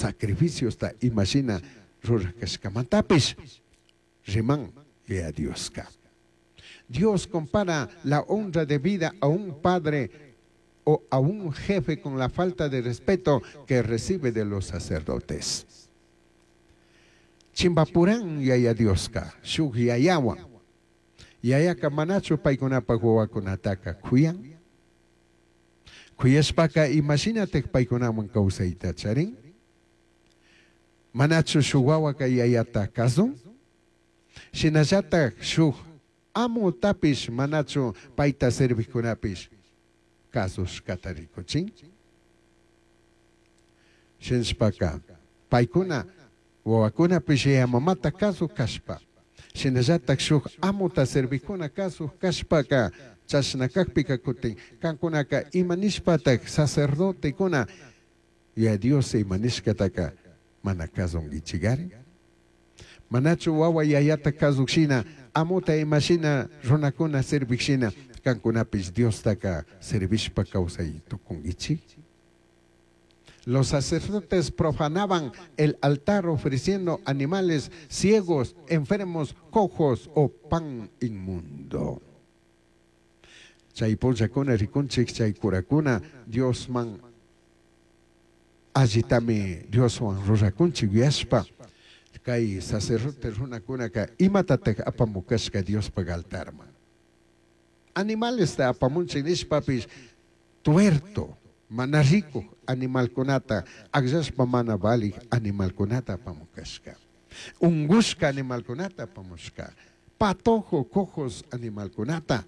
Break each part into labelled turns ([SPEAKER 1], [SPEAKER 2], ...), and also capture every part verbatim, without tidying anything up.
[SPEAKER 1] Sacrificiosta imashina ruraj cashcamantapish riman Yaya Dioska. Dios compara la honra debida a un padre o a un jefe con la falta de respeto que recibe de los sacerdotes. Chimbapuran Yaya Dioska, shuk yayawan. Yayaka manachu paykunapaj wawakunataka kuyan? Kuyashpaka imashinataj paykunawan kawsayta charin? Manachu shuk wawaka yayata kazun? Shinallataj shuk amutapish manachu payta servijkunapish kazushkata rikuchin? Shinashpaka paykuna wawakunapish yaya mamata kazuj kashpa, shinallataj shuk amuta servijkuna kazuj kashpaka chashna kajpika kutin kankunaka ima nishpataj sacerdotekuna Yaya Dios ima nishkataka mana kazunkichikari? Manachu wawa yayata kazuj shina, amuta ima shina runakuna servij shina kankunapish Diostaka servishpa kawsay tukunkichik? Los sacerdotes profanaban el altar ofreciendo animales ciegos, enfermos, cojos o pan inmundo. Chay punllakuna rikunchik chay curakuna Diosman allitami Dioswan rurakunchik yuyashpa kay sacerdote runakunaka imatataj apamukashka Diospaj altarman. Animalesta apamunchik nishpapish tuerto, mana rikuj animalkunata, akllashpa mana valij animalkunata apamukashka. Ungushka animalkunata apamushka. Patojo, cojos animalkunata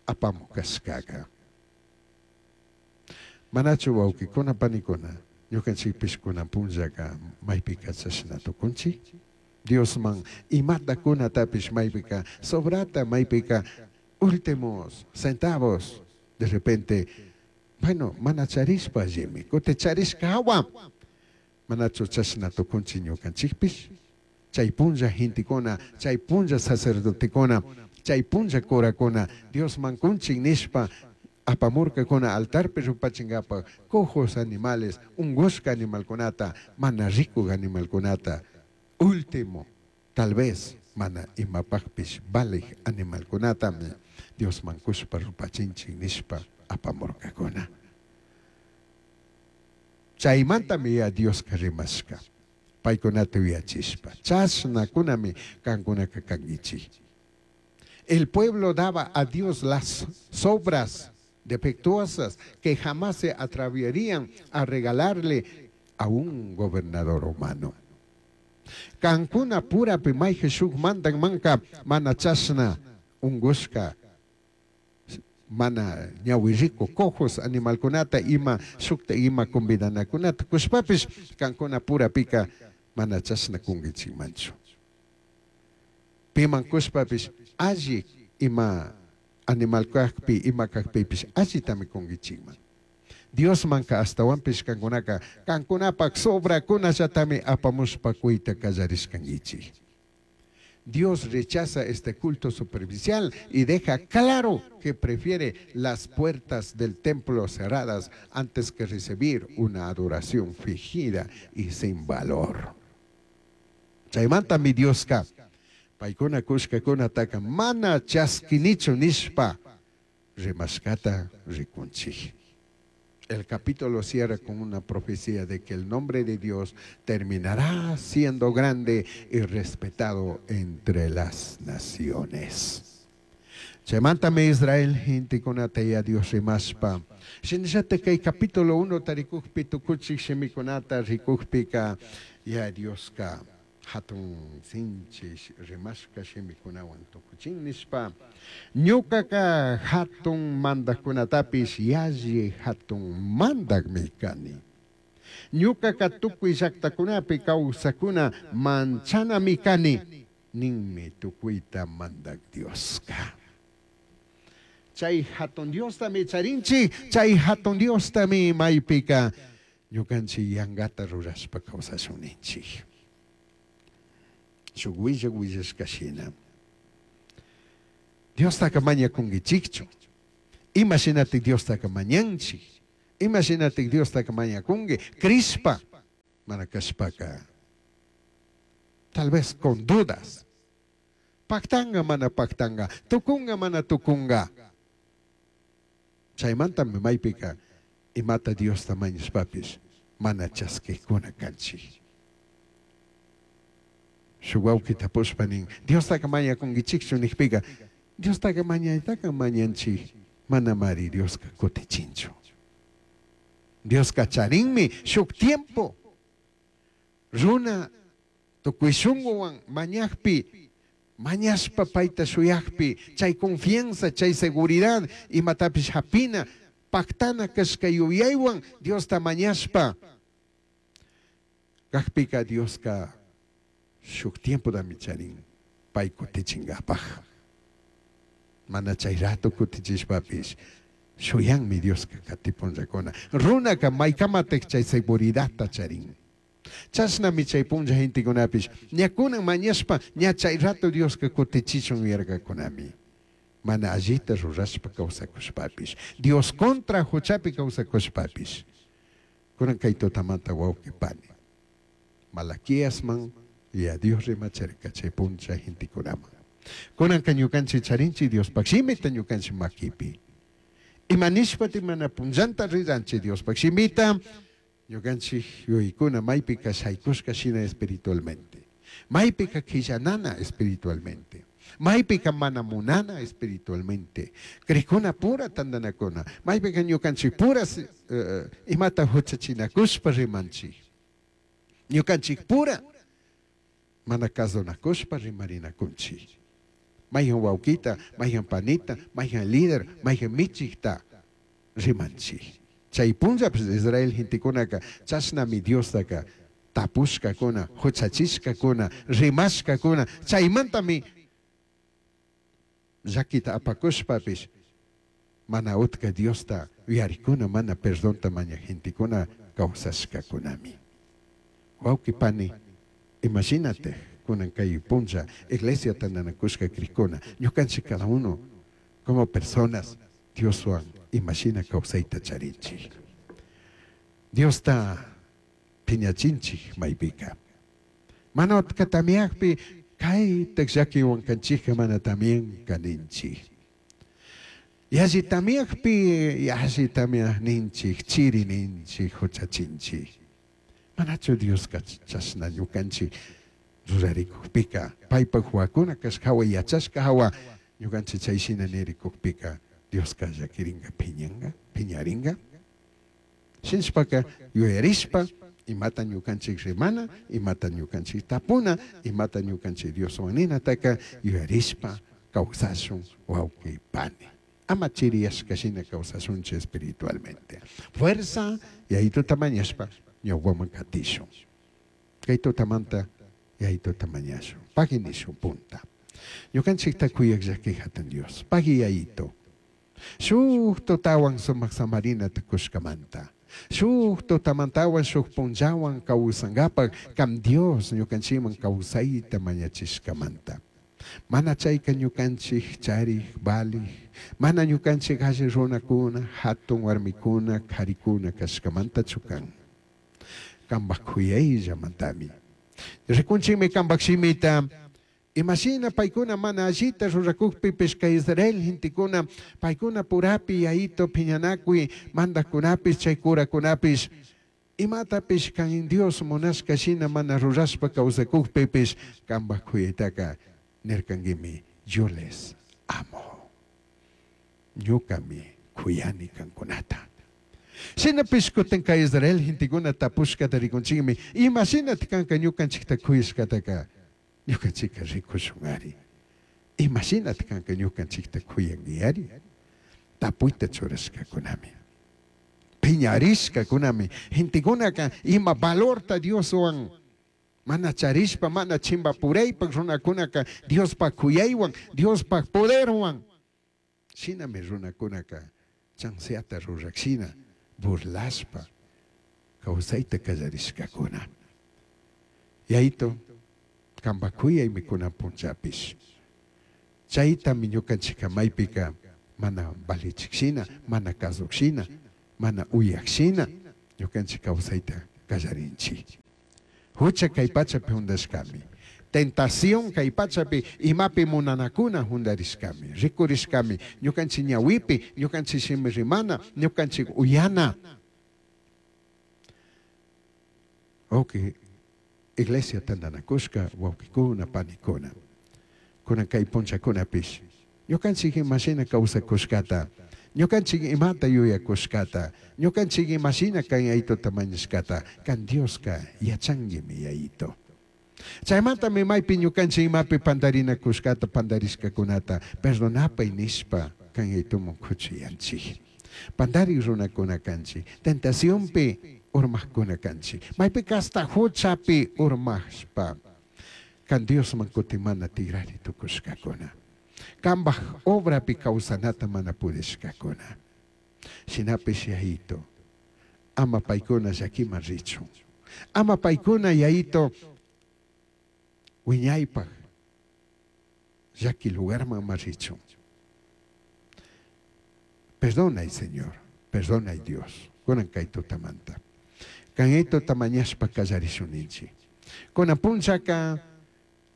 [SPEAKER 1] apamukashkaka. Manachu wawkikuna panikuna, ñukanchikpish kunan punllaka maypika chashna tukunchik? Diosman imata kunatapish maypika sobrata, maypika últimos centavos, de repente, bueno, mana charishpa allimi, kuti charishka hawa, manachu chashna tukunchik ñukanchikpish? Chay punlla gentekuna, chay punlla sacerdotekuna, chay punlla curakuna, Diosman kunchik nishpa apamurkakuna altarpi rupachinkapak cojos animales, ungushka animalkunata, mana rikuj animalkunata, último, tal vez mana imapajpish valij animalkunatami Diosman kushpa rupachinchik nishpa apamurkakuna. Chaymantami ya Dioska rimashka, paykunata yuyachishpa, chashnakunami kankunaka kankichik. El pueblo daba a Dios las sobras defectuosas que jamás se atreverían a regalarle a un gobernador humano. Kankuna purapi mayjin shuk mandan manka mana chashna ungushka mana ñawi riku cojos animalkunata ima shukta ima convidanakunata kushpapish kankuna purapika mana chashna kunkichikmanchu. Piman kushpapish alli ima animal kajpi ima kajpipish allitami kunkichikman. Diosmanka ashtawanpish kankunaka kankunapak sobrakunallatami apamushpa kuyta kallarishkankichik. Dios rechaza este culto superficial y deja claro que prefiere las puertas del templo cerradas antes que recibir una adoración fingida y sin valor. Chaymanta mi Dioska, paykuna kushkakunataka mana chaskinichu nishpa rimashkata rikunchik. El capítulo cierra con una profecía de que el nombre de Dios terminará siendo grande y respetado entre las naciones. Chaymantami Israel gentekunata ya Dios rimashpa. Shinallata kay capítulo uno tarikujpi tukuchik shimikunata rikujpika ya Dioska hatun sinchi rimashka shimikunawan tukuchin nishpa ñukaka hatun mandajkunatapish yalli hatun mandajmi kani. Ñukaka tukuy llaktakunapi kawsakuna manchanami kani ninmi tukuyta mandak Dioska. Chay hatun Diostami charinchik, chay hatun Diostami maypika ñukanchik yankata rurashpa kawsashun ninchik. Shuk willak willashka shina. Diostaka mañakunkichikchu. Ima shinatik Diostaka mañanchik. Ima shinatik Diostaka mañakunki. Crishpa Mana kashpaka tal vez con dudas. Pactanga mana pactanga, tukunga mana tukunga. Chaymantami maypika imata Diosta mañashpapis mana chaskikuna kanchik. Shuk wawqi tapushpa nin, Diostaqa mañakunkichikchu nijpika, Diostaqa mañaytaqa mañanchik, manamari Dioska kutichinchu. Dioska charinmi shuk tiempo. Runa tukuy shunquwan mañakpi, mañashpa payta shuyakpi, chay confianza, chay seguridad, imatapish hapina, pactana kashka yuyaywan Diosta mañashpa. Kajpika Dioska shuk tiempotami charin pay kutichinkapaj. Mana chay rato kutichishpapis shuyanmi Dioska katipunllakuna. Runaka maykamatik chay seguridadta charin. Chashnami chay punlla gentekunapish ñakunan mañashpa ña chay rato Dioska kutichichun yarkakunami. Mana allita rurashpa kawsakushpapish, Dios contra huchapi kawsakushpapish. Kunan kay tutamanta wawqi pani, Malaquiasman ya Dios rimacharka chay punlla gentekunaman. Kunanka ñukanchik charinchik Diospaq shimita ñukanchik makipi. Ima nishpati mana punllanta riranchik Diospaq shimita, ñukanchik yuyaykuna maypika shaykushka shina espiritualmente. Maypika qillanana espiritualmente. Maypika mana munana espiritualmente. Crikuna pura tandanakuna. Maypika ñukanchik pura uh, imata huchachinakushpa rimanchik. Ñukanchik pura mana kasunakushpa rimarinakunchik. Mayhan wawqita, mayhan panita, mayhan líder, mayhan michikta rimanchik. Chay punllapish Israel gentekunaka chashnami Diostaka tapushkakuna, huchachishkakuna, rimashkakuna, chaymantami llakita apakushpapish mana utka Diosta uyarikuna, mana perdonta maña gentekuna kawsashkakunami. Wawqi pani, imagínate kunan kay punlla iglesia tandanakushka krikuna, ñukanchik cada uno como personas Dioswan imashina kawsayta charinchik. Diosta phiñachinchik maypika. Mana utka tamiakpi kaytak llakiwan kanchikka mana también kaninchik. Yalli tamiakpi yalli tamiakninchik, chiri ninchik, huchachinchik. Manachu Dioska chashna ñukanchik rurarikukpika, paypak huakuna kashka hawa yachashka hawa ñukanchik chayshina nirikukpika Dioska llakiringa phiñanka, phiñaringa. Shinshpaka yuyarishpa imata ñukanchik rimana, imata ñukanchik tapuna, imata ñukanchik Dioswan ninataka yuyarishpa kawsashun wawqi pani. Ama chiriyashka shina kawsashunchik espiritualmente. Fuerza yayituta mañashpa ñawpaman katishun. Kay tutamanta yayituta mañashun. Pagui nishun punta. Ñukanchikta kuyaq llaki hatun Dios. Pagui yayito. Shuk tutawan sumak samarinata kushkamanta. Shuk tutamantawan shuk punllawan kawsankapak kam Dios ñukanchikman kawsayta mañachishkamanta. Mana chayka ñukanchik charik valij, mana ñukanchik alli runakuna, hatun warmikuna, karikuna kashkamanta chukan. Kampak kuyayllamantami. Rikunchikmi kampak shimita. Imashina paykuna mana allita rurakukpipish kay Israel gentekuna paykuna purapi yayito phiñanakuy mandaqkunapish chay kurakunapish imatapish kan Dios munashka shina mana rurashpa kawsakukpipish kampak kuyaytaka nirkankimi yo les amo. Ñukami kuyani kankunata. Shinapish kutin kay Israel gentekuna tapushkata rikunchikmi imashinata kanka ñukanchikta kuyashkataka ñukanchikka rikushun ari. Imashinata kanka ñukanchikta kuyanki ari. Tapuyta churashkakunami. Phiñarishkakunami. Gentekunaka ima valorta Dioswan mana charishpa, mana chimpapuraypak runakunaka Diospak kuyaywan, Diospak poderwan. Shinami runakunaka chanseata rurakshina burlashpa kawsayta kallarishkakuna. Yayito kampak kuyaymi kunan punllapish. Chaytami ñukanchikka maypika mana valichikshina, mana kasukshina, mana uyakshina ñukanchik kawsayta kallarinchik. Hucha kay pachapi hundashkami. Tentación kay pachapi imapi munanakuna hundarishkami, rikurishkami, ñukanchik ñawipi, ñukanchik shimi rimana, ñukanchik uyana. Ok, iglesia tantanakushka, wawkikuna, panikuna. Kunan kay punchakunapish. Ñukanchik imashina kawsakushkata, ñukanchik imata yuyakushkata, ñukanchik imashina kan yayituta mañashkata, kan Dioska yachanguimi yayito. Chaymantami maypi ñukanchik imapi pandarinakushkata, pandarishkakunata, perdonapay nishpa kan yayituman kuchuyanchik. Pandari runakuna kanchik, tentacionpi urmaqkuna kanchik, maypika hasta huchapi urmashpa, kan Diosman kutimana tigrari tukushkakuna. Kambaj obrapi kawsanata mana pudishkakuna. Shinapish yayito, ama paykuna llakiman richun. Ama paykuna yayito wiñaypaj llaki lugarman ama richun. Perdonay, Señor, perdonay, Dios. Kunan kay tutamanta. Kan tuta mañashpa kallarishun. Kunan punchaka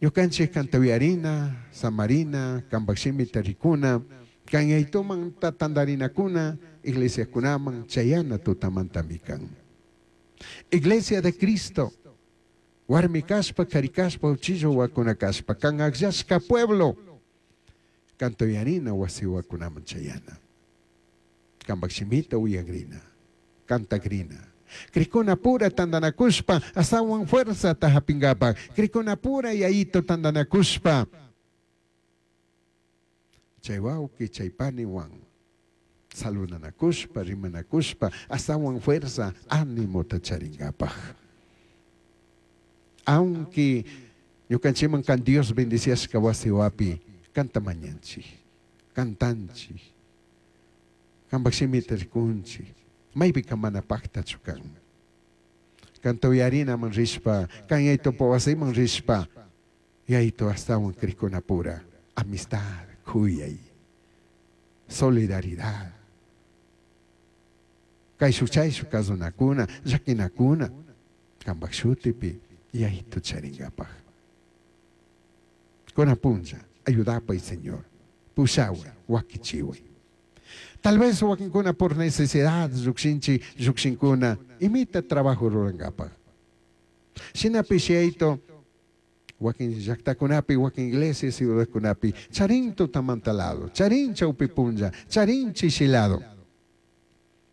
[SPEAKER 1] ñukanchik kantawiyarina, samarina, kambakshimita rikuna, kan yaytuman tandarinakuna, iglesiakunaman chayana tutamantami kan. Iglesia de Cristo, warmi kashpa, kari kashpa, uchillo wakuna kashpa, kan akllashka pueblo, kantoyarina wasi wakunaman chayana. Kambakshimita uyagrina, kantagrina. Krikuna pura tandanakushpa, astawan fuerza tahapingapa. Krikuna pura yayito tandanakushpa. Chay wawqi, chay paniwan saludanakushpa, rimanakushpa, astawan fuerza, ánimo charingapaj. Aunque ñukanchikman kan Dios bendiciashka wasi wapi, kanta mañanchik, kantanchik, kambak shimita rikunchik, maypika mana paktachu kan. Kanta uyarinaman rishpa, kan yaytupa wasiman rishpa, yaytu astawan krikunapura, amistad, kuyay, solidaridad. Kayshuk chayshuk kasunakuna, llakinakuna, kambak shutipi yaytu charingapaj. Kunan punlla, ayudapay, Señor, pushaway, wakichiway. Tal vez wakinkuna por necesidad, llukshinchi, llukshinkuna, imita trabajo rurankapaj. Shinapish yayto, wakin llaktakunapi, wakin iglesia ciudadkunapi, charin tutamanta lado, charin chawpi punlla, charin chishilado.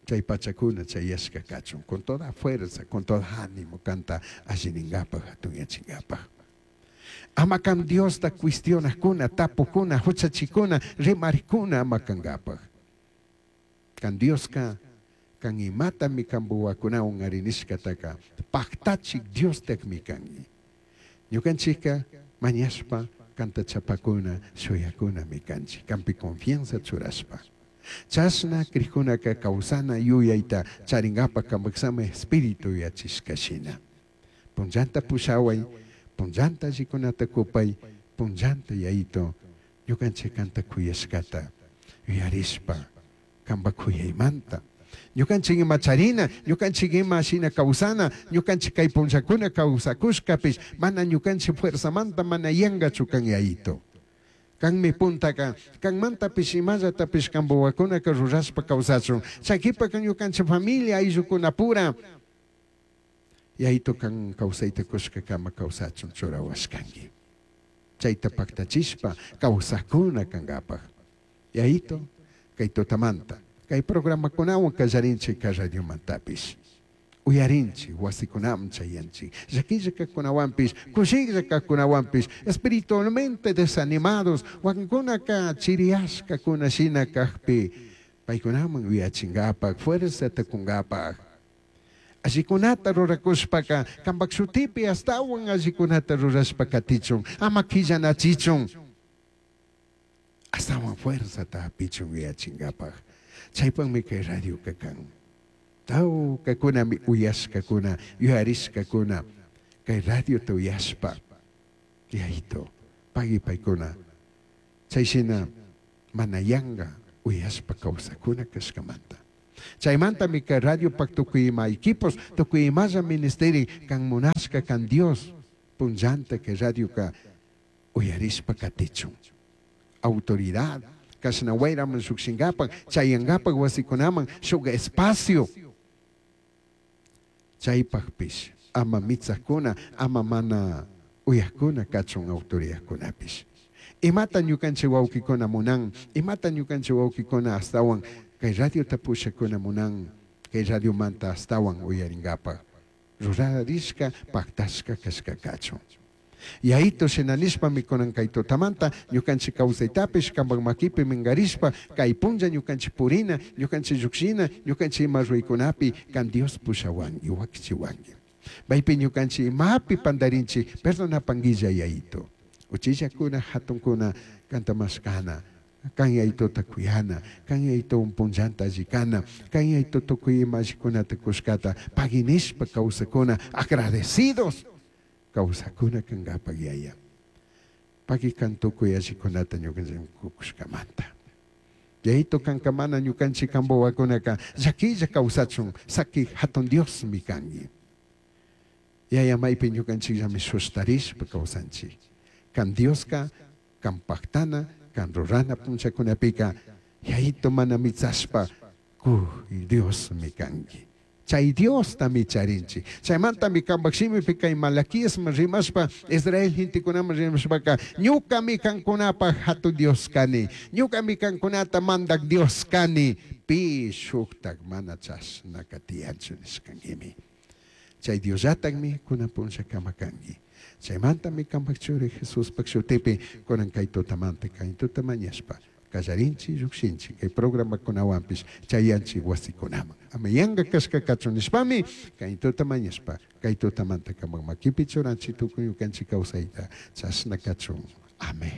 [SPEAKER 1] Chay pachakuna chayashka kachun, con toda fuerza, con todo ánimo, canta alliningapaj, hatunyachingapaj. Ama kan Diosta cuestionakuna, tapukuna, huchachikuna, rimarikuna ama kankapaj. Kan Dioska, kan imatami kambuwakunawan arinishkataka, paktachik Diostakmi kangi. Ñukanchikka mañashpa, kanta chapakuna, shuyakuna mi kanchik, kampi confianza churashpa. Chashna krikunaka kawsana yuyayta charingapa kambaksama espíritu yachishkashina. Punllanta pushaway, punllanta allikunata kupay, punllanta yayito, ñukanchik kanta kuyashkata yuyarishpa, kamba kuyaymanta. Ñukanchik ima charina, ñukanchik ima shina kawsana, ñukanchik kay punllakuna kawsakushkapish, mana ñukanchik fuerzamanta mana yangachu kan yayito. Kanmi puntaka, kanmantapish imallatapish kambuwakunaka rurashpa kawsachun. Chaykipa kan ñukanchik familia ayllukunapura, yayito kan kawsayta kushkakama kawsachun churawashkanki. Chayta paktachishpa kawsakuna kankapaj. Yayito, kay tutamanta, kay programakunawan kallarinchik kay radiomantapish. Uyarinchik, wasikunaman chayanchik, llakilla kaqkunawanpish, kushilla kaqkunawanpish, espiritualmente desanimados, wakinkunaka chiriyashkakuna shina kaqpi, paykunaman uyachinkapak, fuerzata kunkapak. Allikunata rurakushpaka, kampak shutipi astawan allikunata rurashpa katichun, ama killanachichun, astawan fuerzata hapichun uyachinkapak. Chaypaqmi kay radioka kan. Tawkakunami uyashkakuna, yuyarishkakuna, kay radiota uyashpa, yayito, pagui paykuna. Chayshina mana yanka uyashpa kawsakuna kashkamanta. Chaymantami kay radiopak tukuy ima equipos, tukuy imalla ministerin kan munashka kan Dios punllanta kay radioka uyarishpa katichun. Autoridad kashna wayraman llukshinkapak chayankapak wasikunaman shuk espacio chaypakpish ama mitsakuna ama mana uyakuna kachun autoridadkunapish. Imata ñukanchik wawkikuna munan, imata ñukanchik wawkikuna astawan kay radiota pushakuna munan, kay radiomanta astawan uyarinkapak rurarishka paktashka kashka kachun. Yayito shina nishpami kunan kay tutamanta ñukanchik kawsaytapish kanpak makipi minkarishpa kay punlla ñukanchik purina, ñukanchik llukshina, ñukanchik ima ruraykunapi kan Dios pushawanki, wakichiwanki. Maypi ñukanchik imapi pantarinchik, perdonapanguilla Yayito. Uchillakuna, hatunkuna kanta mashkana, kan Yayitota kuyana, kan Yayito punllanta allikana, kan Yayito tukuy ima allikunata kushkata paginishpa kawsakuna, agradecidos kawsakuna kankapak Yaya. Pagi kan tukuy allikunata ñukanchik kushkamanta. Yayito kanka mana ñukanchik kanpak wawakunaka llakilla kawsachun saki hatun Diosmi kanki. Yaya maypi ñukanchikllami sustarishpa kawsanchik. Kan Dioska, kan paktana, kan rurana punllakunapika Yayito mana mitsashpa ku Diosmi kanki. Chay Diostami charinchik. Chaymantami kanpak shimipi kay Malaquiasman rimashpa, Israel gentekunaman rimashpaka, ñukami kankunapak hatun Dios kani, ñukami kankunata mandak Dios kani, pi shuktak mana chashnaka tiyanchu nishkankimi. Chay Diosllatakmi kunan punllakama kanki. Chaymantami kanpak churi Jesuspak shutipi kunan kay tutamanta kay tuta mañashpa kallarinchik llukshinchik kay programakunawanpish chayanchik wasikunaman. Ama yanka kashka kachun nishpami kay tuta mañashpa kay tutamanta kanpak makipi churanchik tukuy ñukanchik kawsayta chashna kachun. Amén.